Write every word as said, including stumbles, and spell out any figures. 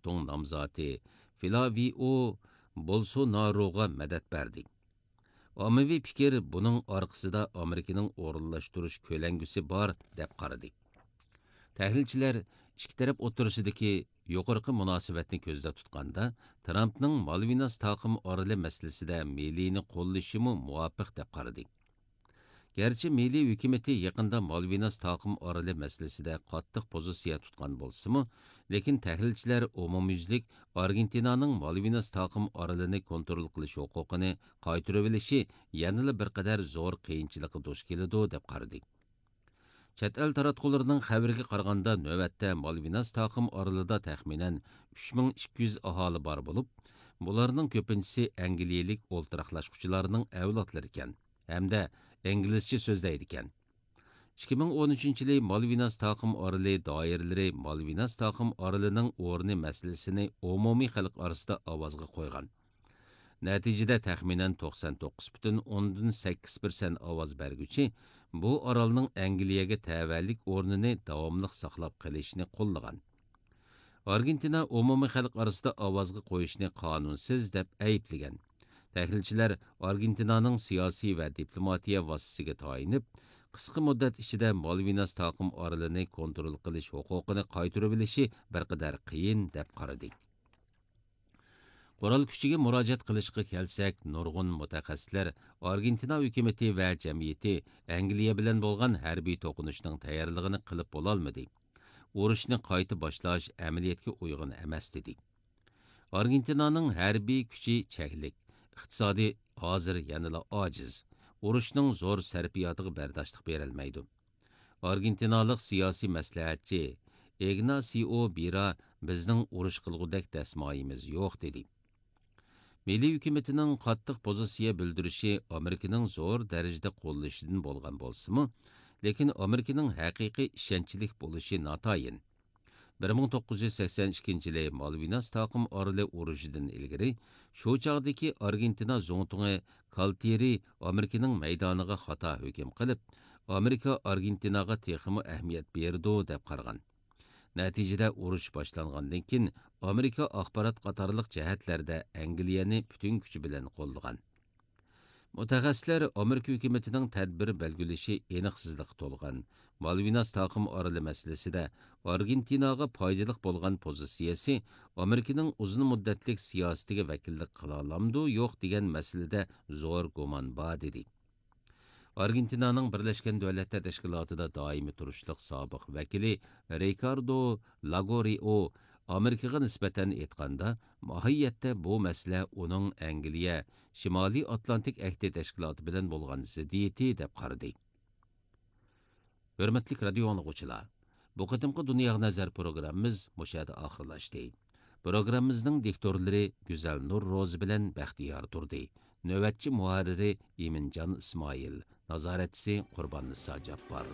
سوڭ نامزاتى فىلاۋىئو بولسوناروغا مەدەت بەردى. ئاممىۋى پىكىر بۇنىڭ ئارقىسىدا ئامېرىكىنىڭ ئورۇنلاشتۇرۇش كۆلەڭگىسى بار، دەپ قارىدى. تەھلىلچىلەر ئىككى تەرەپ ئوتتۇرىسىدىكى يۇقىرىقى مۇناسىۋەتنى كۆزدە تۇتقاندا، ترامپنىڭ مالۋىناس تاقىم ئارىلى مەسىلىسىدە مىلىينى قوللىشىمۇ مۇۋاپىق، دەپ قارىدى. گەرچە مىلىي ھۆكۈمىتى يېقىندا مالۋىناس تاقىم ئارىلى مەسىلىسىدە قاتتىق پوزىتسىيە تۇتقان بولسىمۇ، لېكىن تەھلىلچىلەر ئومۇميۈزلۈك ئارگېنتىنانىڭ مالۋىناس تاقىم ئارىلىنى كونترول قىلىش ھوقۇقىنى قايتۇرۇۋېلىشى يەنىلا بىر قەدەر زور قىيىنچىلىققا دۇچ كېلىدۇ، دەپ قارىدى. چەت ئەل تاراتقۇلىرىنىڭ خەۋىرىگە قارىغاندا، نۆۋەتتە مالۋىناس تاقىم ئارىلىدا تەخمىنەن ئۈچ مىڭ ئىككى يۈز ئاھالى بار بولۇپ، بۇلارنىڭ كۆپىنچىسى ئەنگلىيەلىك ئولتۇراقلاشقۇچىلارنىڭ ئەۋلادلىرىكەن ھەمدە ئىنگلىزچە سۆزلەيدىكەن. ئىككى مىڭ ئون ئۈچىنچى يىلى مالۋىناس تاقىم ئارىلى دائىرىلىرى مالۋىناس تاقىم ئارىلىنىڭ ئورنى مەسىلىسىنى ئومۇمىي خەلق ئارىسىدا ئاۋازغا قويغان. نەتىجىدە، تەخمىنەن توقسان توققۇز پۈتۈن ئوندىن سەككىز پىرسەنت ئاۋاز بەرگۈچى بۇ ئارالنىڭ ئەنگلىيەگە تەۋەلىك ئورنىنى داۋاملىق ساقلاپ قېلىشنى قوللىغان. ئارگېنتىنا ئومۇمىي خەلق ئارىسىدا ئاۋازغا قويۇشنى قانۇنسىز دەپ ئەيىبلىگەن. تەھلىلچىلەر ئارگېنتىنانىڭ سىياسىي ۋە دىپلوماتىيە ۋاسىتىسىگە تايىنىپ، قىسقا مۇددەت ئىچىدە مالۋىناس تاقىم ئارىلىنى كونترول قىلىش ھوقۇقىنى قايتۇرۇۋېلىشى بىر قەدەر قىيىن، دەپ قارىدى. قورال كۈچىگە مۇراجىئەت قىلىشقا كەلسەك، نۇرغۇن مۇتەخەسسىسلەر ئارگېنتىنا ھۆكۈمىتى ۋە جەمئىيىتى ئەنگلىيە بىلەن بولغان ھەربىي توقۇنۇشنىڭ تەييارلىقىنى قىلىپ بولالمىدى. ئۇرۇشنى قايتا باشلاش ئەمەلىيەتكە ئۇيغۇن ئەمەس، دېدى. ئارگېنتىنانىڭ ھەربىي كۈچى چەكلىك، ئىقتىسادى ھازىر يەنىلا ئاجىز، ئۇرۇشنىڭ زور سەرپىياتىغا بەرداشلىق بېرەلمەيدۇ. ئارگېنتىنالىق سىياسىي مەسلىھەتچى ئىگناسىئو بىرا بىزنىڭ ئۇرۇش قىلغۇدەك دەسمايىمىز يوق، دېدى. مىلىي ھۆكۈمىتىنىڭ قاتتىق پوزىتسىيە بىلدۈرۈشى ئامېرىكىنىڭ زور دەرىجىدە قوللىشىدىن بولغان بولسىمۇ، لېكىن ئامېرىكىنىڭ ھەقىقىي ئىشەنچلىك بولۇشى ناتايىن. بىر مىڭ توققۇز يۈز سەكسەن ئىككىنچى يىلى مالۋىناس تاقىم ئارىلى ئۇرۇشىدىن ئىلگىرى، شۇ چاغدىكى ئارگېنتىنا زۇڭتۇڭى كالتېرى ئامېرىكىنىڭ مەيدانىغا خاتا ھۆكۈم قىلىپ، ئامېرىكا ئارگېنتىناغا تېخىمۇ ئەھمىيەت بېرىدۇ، دەپ قارىغان. نەتىجىدە، ئۇرۇش باشلانغاندىن كېيىن، ئامېرىكا ئاخبارات قاتارلىق جەھەتلەردە ئەنگلىيەنى پۈتۈن كۈچى بىلەن قوللىغان. مۇتەخەسسىسلەر ئامېرىكا ھۆكۈمىتىنىڭ تەدبىر بەلگىلىشى ئېنىقسىزلىققا تولغان، مالۋىناس تاقىم ئارىلى مەسىلىسىدە ئارگېنتىناغا پايدىلىق بولغان پوزىتسىيەسى ئامېرىكىنىڭ ئۇزۇن مۇددەتلىك سىياسىتىگە ۋەكىللىك قىلالامدۇ، يوق دېگەن مەسىلىدە زور گۇمان بار، دېدى. ئارگېنتىنانىڭ بىرلەشكەن دۆلەتلەر تەشكىلاتىدا دائىمىي تۇرۇشلۇق سابىق ۋەكىلى رىكاردو لاگورىئو ئامېرىكىغا نىسبەتەن ئېيتقاندا، ماھىيەتتە بۇ مەسىلە ئۇنىڭ ئەنگلىيە شىمالىي ئاتلانتىك ئەھدى تەشكىلاتى بىلەن بولغان زىددىيىتى، دەپ قارىدى. ھۆرمەتلىك رادىيو ئاڭلىغۇچىلار، بۇ قېتىمقى دۇنياغا نەزەر پروگراممىمىز مۇشۇ يەردە ئاخىرلاشتى. پروگراممىمىزنىڭ دىكتورلىرى گۈزەل نۇر روزى بىلەن بەختىيار تۇردى. نۆۋەتچى مۇھەررىرى ئىمىنجان ئىسمائىل. نازارەتچىسى قۇرباننىسا جاپپار.